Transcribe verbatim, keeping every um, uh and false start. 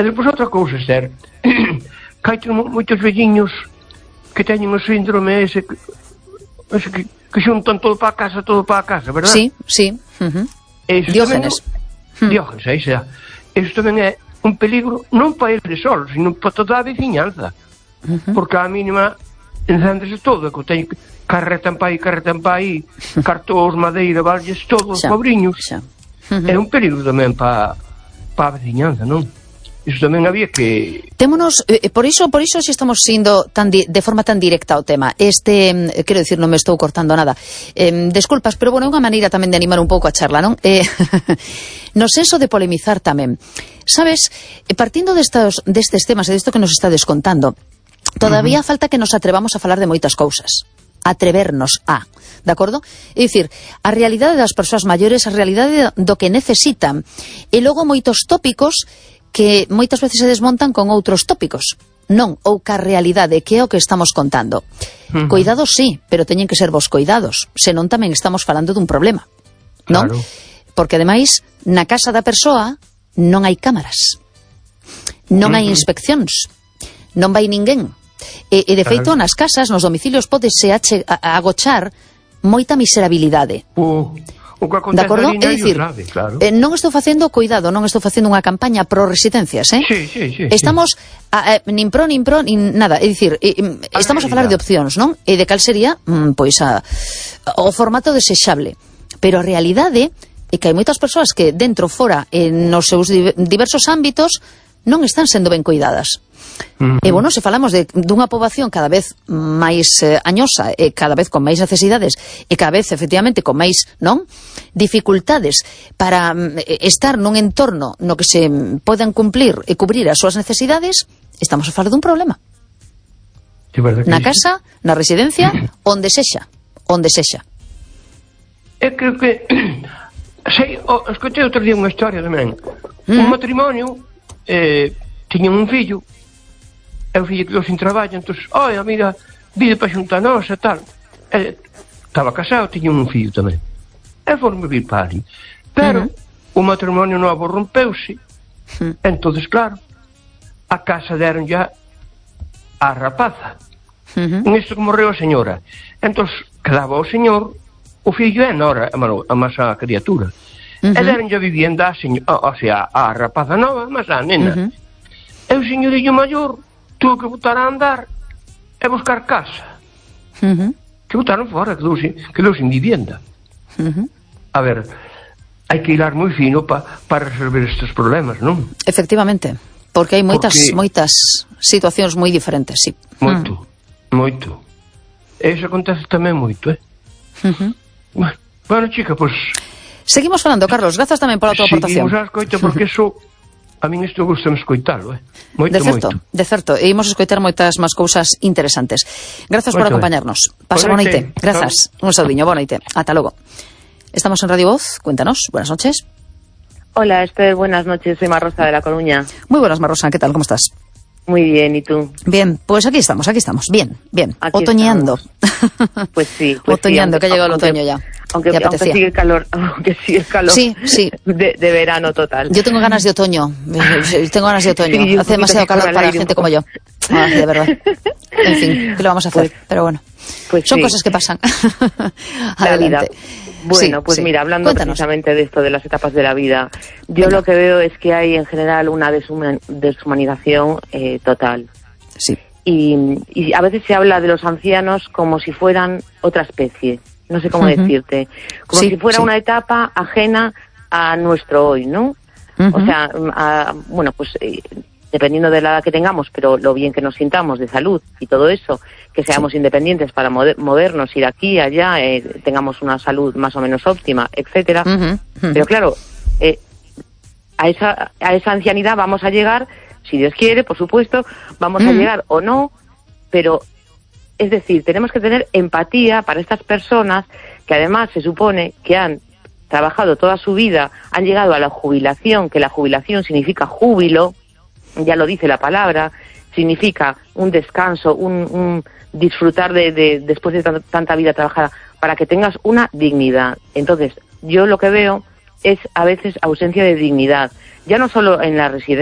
E depois outra cousa, Esther, que hai moitos velliños que teñen o síndrome ese que, ese que, que xuntan todo para a casa, todo para a casa, verdad? Sí, sí. Uh-huh. Diógenes. Tamén, Diógenes, aí xa. Iso tamén é un peligro non para ele solo, sino para toda a veciñanza. Uh-huh. Porque a mínima encéndese todo, que teño carretan pa aí, carretan pa aí, cartóns, madeira, valles, todos, pobriños. Uh-huh. É un peligro tamén para pa a veciñanza, non? Iso tamén había que... Témonos, eh, por iso, por iso si estamos sindo tan di, de forma tan directa ao tema. Este, eh, quero dicir, non me estou cortando nada. Eh, desculpas, pero bueno, é unha maneira tamén de animar un pouco a charla, non? Eh, no senso de polemizar tamén. Sabes, partindo destos, destes temas e desto que nos está descontando, todavía uh-huh. falta que nos atrevamos a falar de moitas cousas. Atrevernos a, de acordo? É dicir, a realidade das persoas maiores, a realidade do que necesitan, e logo moitos tópicos que moitas veces se desmontan con outros tópicos. Non, ou ca realidade, que é o que estamos contando. Uh-huh. Coidados sí, pero teñen que ser vos coidados, senón tamén estamos falando dun problema. Non? Claro. Porque ademais, na casa da persoa non hai cámaras. Non uh-huh. hai inspeccións. Non vai ninguén. E, e de feito, nas casas, nos domicilios, podese ache, a, a agochar moita miserabilidade. Uh. O que acontece ali non é grave, claro. Eh, non estou facendo, cuidado, non estou facendo unha campaña pro residencias, eh? Sí, sí, sí. Estamos, sí. A, a, nin pro, nin pro, nin nada, é dicir, eh, estamos a falar de opcións, non? E de cal sería, mm, pois, a, o formato desexable. Pero a realidade é que hai moitas persoas que dentro, fora, en nos seus diversos ámbitos, non están sendo ben cuidadas. Uh-huh. E, bueno, se falamos de, dunha poboación cada vez máis eh, añosa e cada vez con máis necesidades e cada vez, efectivamente, con máis, non? Dificultades para eh, estar nun entorno no que se podan cumplir e cubrir as súas necesidades, estamos a falar dun problema. Sí, na casa, na residencia, uh-huh. onde sexa, onde sexa. Eu creo que sei, oh, escoitei outro día unha historia tamén. Uh-huh. Un matrimonio eh, tiñan un fillo. E o fillo quedou sin traballo, entón, oi, mira, vide para xuntar nós e tal. E, estaba casado, tiña un fillo tamén. E foron vivir para ali. Pero uh-huh. o matrimonio novo rompeuse. Uh-huh. Entonces, claro, a casa deron ya a rapaza. Uh-huh. Nisto que morreu a señora. Entón, quedaba o señor, o fillo e a nora, a máis a criatura. Uh-huh. E deron ya vivienda a, señor, o sea, a rapaza nova, máis a nena. Uh-huh. E o señorillo maior tuvo que botar a andar e buscar casa. Uh-huh. Que botaron fora, quedou sin, quedou sin vivienda. Uh-huh. A ver, hai que hilar moi fino pa, para resolver estes problemas, non? Efectivamente, porque hai moitas, porque... moitas situacións moi diferentes, sí. Moito, uh-huh. moito. E iso acontece tamén moito, eh? Uh-huh. Bueno, bueno, chica, pois... Pues, seguimos falando, Carlos, grazas tamén pola tua aportación. Seguimos a escoita, porque iso... A min isto gusta escoitalo, eh? Moito, de certo, moito. De certo, e imos escoitar moitas máis cousas interesantes. Grazas por acompañarnos. Pasa boa noite. Grazas. Un saudiño, boa noite. Ata logo. Estamos en Radio Voz, cuéntanos. Buenas noches. Hola, Esther, buenas noches. Soy Marrosa de La Coruña. Muy buenas, Marrosa. ¿Qué tal? ¿Cómo estás? Muy bien, ¿y tú? Bien, pues aquí estamos, aquí estamos. Bien, bien. Aquí otoñando. Pues sí. Pues otoñando, sí, aunque, que ha llegado aunque, el otoño ya. Aunque, aunque sigue el calor, aunque sigue el calor. Sí, sí. De, de verano total. Yo tengo ganas de otoño. Tengo ganas de otoño. Sí, hace demasiado calor para gente como yo. Ah, de verdad. En fin, ¿qué lo vamos a hacer? Pues, Pero bueno, pues son sí. cosas que pasan. Adelante. Bueno, sí, pues sí. mira, hablando Cuéntanos. precisamente de esto, de las etapas de la vida, yo Venga. lo que veo es que hay en general una deshuman, deshumanización eh, total. Sí. Y, y a veces se habla de los ancianos como si fueran otra especie, no sé cómo uh-huh. decirte, como sí, si fuera sí. una etapa ajena a nuestro hoy, ¿no? Uh-huh. O sea, a, bueno, pues eh, dependiendo de la edad que tengamos, pero lo bien que nos sintamos de salud y todo eso, que seamos sí. independientes para mover, movernos, ir aquí, allá, eh, tengamos una salud más o menos óptima, etcétera. Uh-huh. Uh-huh. Pero claro, eh, a esa a esa ancianidad vamos a llegar, si Dios quiere, por supuesto, vamos uh-huh. a llegar o no, pero es decir, tenemos que tener empatía para estas personas que además se supone que han trabajado toda su vida, han llegado a la jubilación, que la jubilación significa júbilo, ya lo dice la palabra, significa un descanso, un, un disfrutar de, de después de t- tanta vida trabajada, para que tengas una dignidad. Entonces, yo lo que veo es a veces ausencia de dignidad, ya no solo en la residencia,